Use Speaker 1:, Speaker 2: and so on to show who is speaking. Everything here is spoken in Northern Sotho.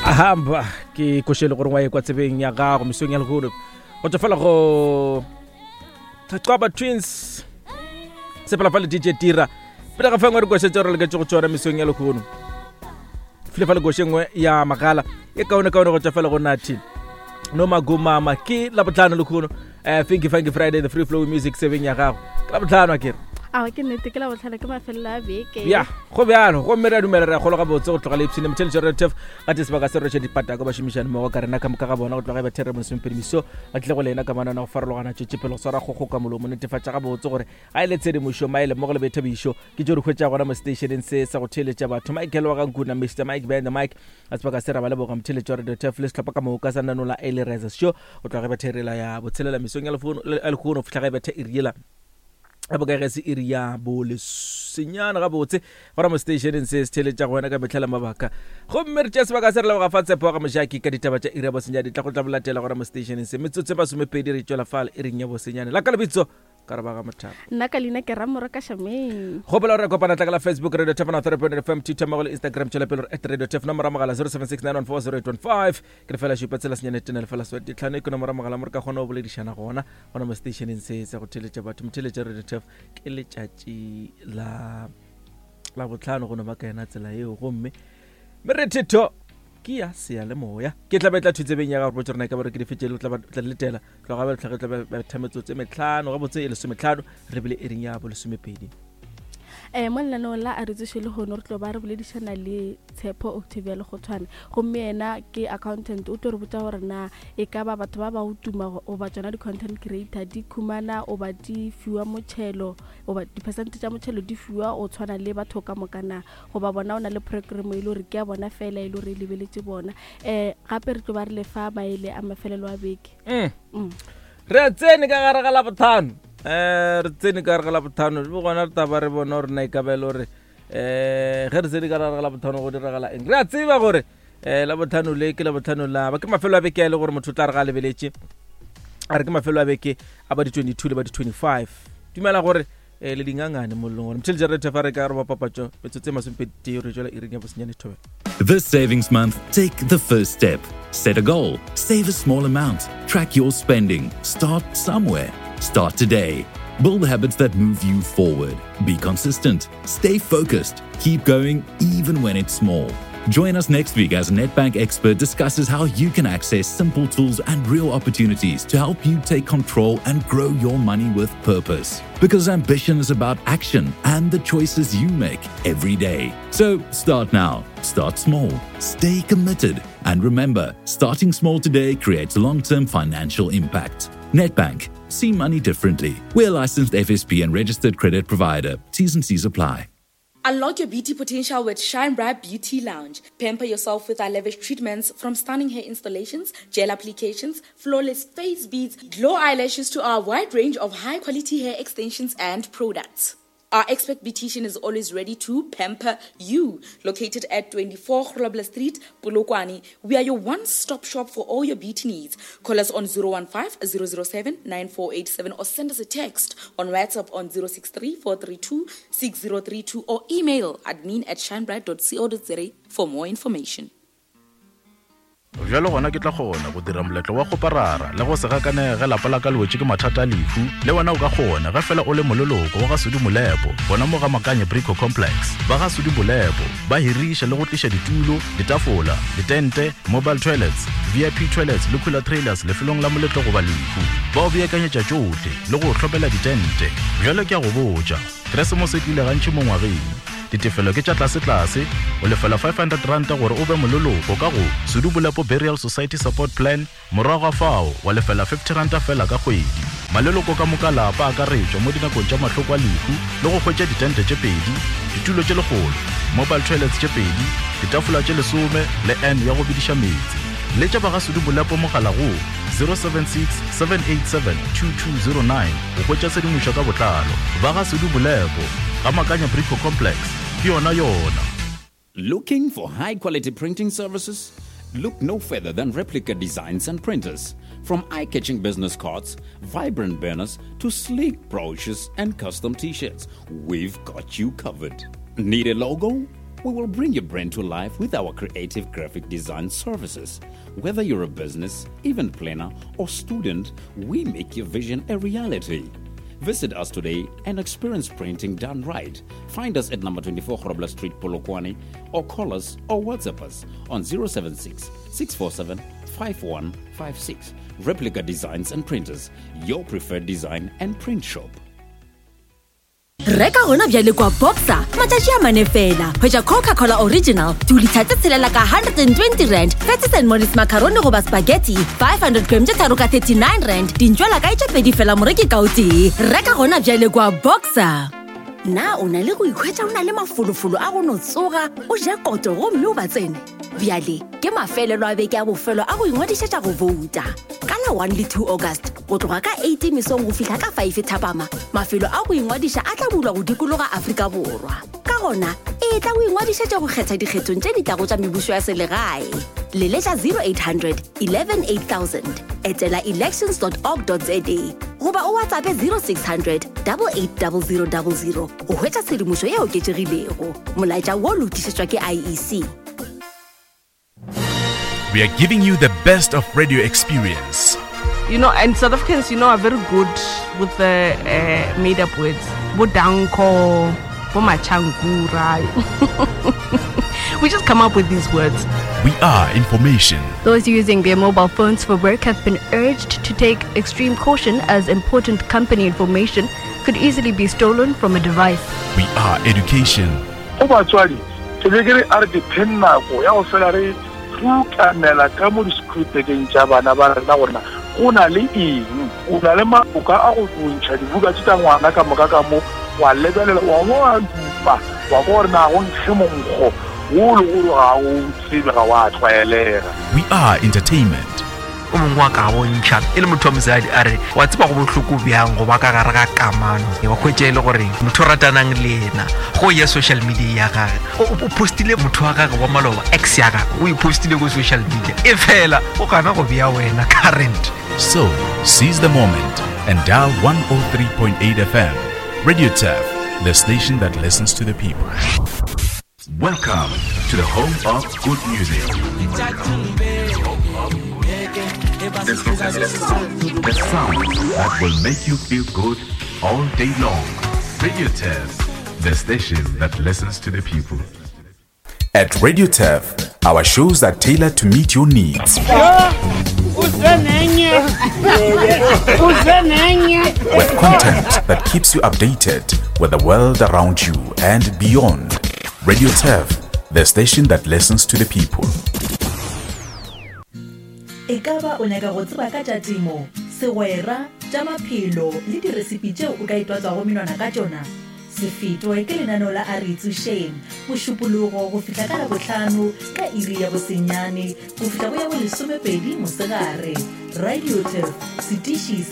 Speaker 1: Ahamba ke košele gore wa ye kwa tsebeng ya gago mesong ya lehono go tswa fela go Thaqaba Twins sepela fa le DJ Tira pele ga fengwe re koše tse re leketse go tsona mesong ya lehono file fa le koše nngwe ya magala e kaone kaone go tswa fela go nathi no magomama ke labotlhano lehono um finky funky friday the free flow music sebeng ya gago ke labotlhano a kere
Speaker 2: awa ke nnete ke labotlhano ke mafelelo a beke
Speaker 1: ya go bjalo gomme re a dumela re a kgolo gabotse go tloga le ipshine motheletšo re tef ga te sebaka se roše dipatako bašomišane mmogo ka rena ka moka ga bona go tloga e bathere mosomepedi meso ba tlile go lena ka manana go farologana tšwetšepele go swara kgokgo ka molomo netefatša gabotse gore ga e le tshedimošo maele mmogo le boithabišo ke tšo re hwetša gona mo stationeng se sa go theeletša batho michael wa gankuna mr mike behind the mic a sebaka se ra ba leboga motheletšo wa radio tef le sehlopha ka moka sa nanola e le reza show go tloga ge betha irela ya botshelela mesong ya lehono go fihla ge betha iriela a boka ge se iri ya bolesenyana gabotse gona mo stationeng se se theeletša go wena ka mehla le mabaka gomme re tšea sebaka se re leboga fa tshepo ga mojaki ka ditaba tša iri ya bosenyane di tla go tla bolatela gona mo stationeng se metsotso e masomepedi re tšwela fale iring ya bosenyane la ka lebitso ka re ba ga mothapa
Speaker 2: nna ka leina ke ramoro ka shameng
Speaker 1: gopola gore re kopana tla ka la facebook radio tef 3 fm twitter mmogo le instagram tšwela pele at radio tef nomoro ya mogala 0769140815 ke lefela šupa tsela senyane tene lefela swete tlhano e ke nomoro ya mogala mo re ka kgona go boledišana gona gona mo stationeng se sa go theletša batho motheletša radio tef ke letšatši la la botlhano go no ba ka yena tsela eo gomme merethetho ke ya seyalemoya ke tla be tla thutsebeng ya gago botse rena ka bare ke dife tše tla tla letela tloga ba tlhage tla ba tha metsotso e metlhano gabotse e lesometlhano re bile iring ya bolesomepedi
Speaker 2: um mo lenaneong la a re tsoše lehono re tlo ba re boledišana le tshepo octavia lekgothwane gomme yena ke accountant o tlo re botša gore na e ka ba batho ba ba go tuma goba tsona di-content creator di khumana goba di fiwa motšhelo goba di-percent tša motšhelo di fiwa o tshwana le batho ka moka na goba bona o na le program e le gore ke ya bona fela e le gore e lebeletše bona um gape re tlo ba re lefa maele a mafelelo a beke
Speaker 1: mm. mm. re tsene ka gare ga labotlhano um re tsene ka gare ga labotlhano le gona re taba re bona gore na e ka ba e le gore um ge re tsene ka gare ga labotlhano go diragala eng re a tseba gore um labotlhano le ke labotlhano la ba ke mafelo a beke a e le gore motho o tla re ga a lebeletše a re ke mafelo a beke a ba di-22 le ba di-25 dumela gore eh, le dingangane mollong gore motšhele jared fa re ka roba papatšo metsotso e masomepedi re tšwela iring ya bosenyane thobela
Speaker 3: This savings month, take the first step. Set a goal, save a small amount, track your spending, start somewhere. Start today. Build habits that move you forward. Be consistent, stay focused, keep going even when it's small. Join us next week as a Nedbank expert discusses how you can access simple tools and real opportunities to help you take control and grow your money with purpose. Because ambition is about action and the choices you make every day. So start now, start small, stay committed, and remember starting small today creates long term financial impact. Nedbank, see money differently. We're licensed FSP and registered credit provider. T's and C's apply.
Speaker 4: Unlock your beauty potential with Shine Bright Beauty Lounge. Pamper yourself with our lavish treatments from stunning hair installations, gel applications, flawless face beads, glow eyelashes to our wide range of high quality hair extensions and products. Our expert beautician is always ready to pamper you. Located at 24 Grobler Street, Polokwane, we are your one-stop shop for all your beauty needs. Call us on 015 007 9487 or send us a text on WhatsApp on 063 432 6032 or email admin at shinebright.co.za for more information.
Speaker 5: Bjalo gona ke tla kgona go dira moletlo wa kgoparara le go se gakanege ge lapa la ka le wetše ke mathata a lehu. Le wena o ka kgona ge fela o le moleloko wa ga Sudi Molepo gona mo ga Makanye Brico Complex. Ba ga Sudi Molepo ba hiriša le go tliša ditulo, ditafola, ditente, mobile toilets, VIP toilets le cooler trailers lefelong la moletlo goba lehu. Ba o beakanyetša tšohle le go o hlomela ditente. Bjalo ke a go botša, Keresemose e tlile gantši mo ngwageng. Ditefelo ke tša tlasetlase, o lefela R500 gore o be moleloko ka go Sudu Bolepo Burial Society Support Plan, morago ga fao wa lefela R50 feela ka kgwedi. Maleloko ka moka lapa a akaretšwa mo dinakong tša mahloko a lehu le go hwetša ditente tše pedi, ditulo tše lekgolo, mobile toilets tše pedi, ditafola tše lesome le urn ya go bediša meetse. Letša ba ga Sudu Bolepo mogala go 076 787 2209 go hwetša tshedimošo ka botlalo. Ba ga Sudu Bolepo, Ga Makanya Brico Complex, ke yona yona.
Speaker 6: Looking for high quality printing services? Look no further than Replica Designs and Printers. From eye catching business cards, vibrant banners, to sleek brochures and custom t shirts, we've got you covered. Need a logo? We will bring your brand to life with our creative graphic design services. Whether you're a business, event planner, or student, we make your vision a reality. Visit us today and experience printing done right. Find us at number 24 Grobler Street, Polokwane, or call us or WhatsApp us on 076 647 5156. Replica Designs and Printers, your preferred design and print shop.
Speaker 7: Reka gona bjale kwa Boxer matšatši a mane fela. Hwetša Coca-Cola Original dilitha tse tshelela ka 120 rand, Fatsis and Mollies macaroni goba spaghetti 500 gram tše tharo ka 39 rand, dintšwela kae tše pedi fela moreki ka o tee. Reka gona bjale kwa Boxer. Na o na le go ikhwetša o na le mafolofolo a go no tsoga o ja koto gomme o ba tsene? Bjale ke mafelelo a beke a bofelo a go ingwadišetša go bouta. Ka la 1 le 2 August, go tloga ka 8 mesong go fihla ka 5 thapama, mafelo a go ingwadiša a tla bulwa go dikologa Afrika Borwa. Ka gona, etla o ingwadišetše go kgetha dikgethong tše di tlago tša mebušo ya selegae. Leletša 0800 11 8000, etela elections.org.za goba o WhatsAppe 0600 880000 go hwetša tshedimošo e oketšegilego. Molaetša wo lokišetšwa ke IEC.
Speaker 8: We are giving you the best of radio experience.
Speaker 9: You know, and South Africans, you know, are very good with the uh, made up words. Bodanko, Bomachankura. We just come up with these words.
Speaker 8: We are information.
Speaker 10: Those using their mobile phones for work have been urged to take extreme caution as important company information could easily be stolen from a device.
Speaker 8: We are education.
Speaker 11: Go batswadi, ke be ke re a re dipheng nako ya go fela re rutamela ka mo disekhuritekeng tša bana ba rena gore na go na le eng. O na le maboka a go ntšha dibuka tše tša ngwana ka moka ka mo, wa lebelela, wa bo wa dupa, wa kwa gore na go nkge monkgo wo le gore ga o tsebe, ga wa tlwaelega.
Speaker 8: We are entertainment.
Speaker 12: O mongwe wa ka bontšha e le motho wa mosadi a re wa tseba go bohloko bjang go ba ka gare ga kamano wa hwetša e le gore motho o ratanang le yena go ya social media ya gage o postile motho wa gage wa maloba ex ya gage o e postile ko social media e fela o gana go bea wena current.
Speaker 8: So, seize the moment and dial 103.8 FM. Radio Turf, the station that listens to the people. Welcome to the home of good music. The sound that will make you feel good all day long. Radio Turf, the station that listens to the people. At Radio Turf, our shows are tailored to meet your needs. With content that keeps you updated with the world around you and beyond. Radio Turf, the station that listens to the people.
Speaker 13: E ka ba o nyaka go tseba ka tša temo, segwera, tša maphelo le diresipi tšeo o ka itwatswago menwana ka tšona? Se fetwe ke lenaneo la A Re Itsošeng, Mošupologo go fihla ka Labohlano ka iri ya bosenyane go fihla go ya bolesomepedi mosegare. Radio Turf, setiši sa.